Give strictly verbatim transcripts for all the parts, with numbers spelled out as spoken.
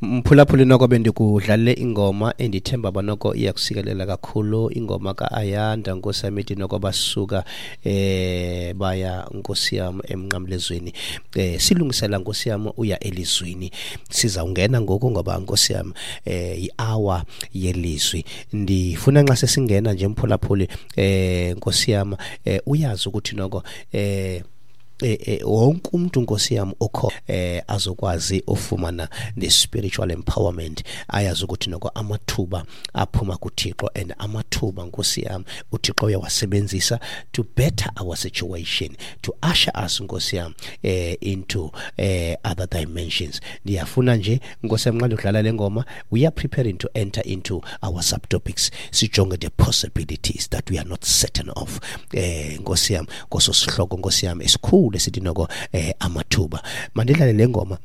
Mphulaphuli, noko bendikudlalele ingoma endithemba uba noko iyakusikelela kakhulu, ingoma ka-Ayanda, nkosi yam, ithi noko basuka eh baya, nkosi yam, emnqamlezweni. eh silungisela nkosi yam uya elizwini. Sizawungena ngoku ngoba, nkosi yam, eh yi-hour yelizwi. Ndifuna nxa sesingena nje, mphulaphuli, eh nkosi yam, eh uyazi ukuthi noko eh eh, eh wonke umuntu, nkosi yam, okho eh azokwazi ufumana the spiritual empowerment, ayazi ukuthi noko amathuba aphuma kuThixo and amathuba, nkosi yam, uThixo uyawasebenzisa to better our situation, to usher us, nkosi yam, eh into eh other dimensions. Ndiyafuna nje, nkosi yam, nxa ndidlala le ngoma, we are preparing to enter into our subtopics, sijonge the possibilities that we are not certain of, eh nkosi yam, koso sihloko, nkosi yam, esikhulu esithi noko eh amathuba. Mandidlale le ngoma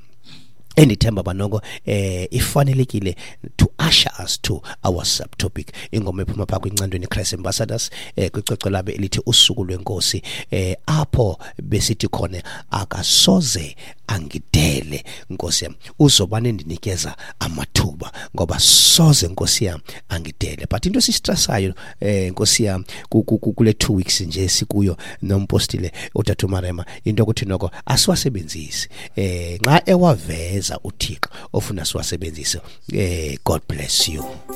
endithemba banoko eh ifanelekile to usher us to our subtopic, ingoma ephuma phaa kwiNcandweni Christ Ambassadors, eh kwicwecwe labo elithi Usuku Lwenkosi, eh apho besithi khona akasoze angidele, nkosi yam, uzobane ndinikeza amathuba ngoba soze, nkosi yam, angidele. But into esistressayo, eh nkosi yam, kule two weeks nje sikuyo nompostile utata uMarema, into yokuthi noko asiwasebenzisi eh nxa ewaveza uThixo ofuna siwasebenzise. eh God bless you.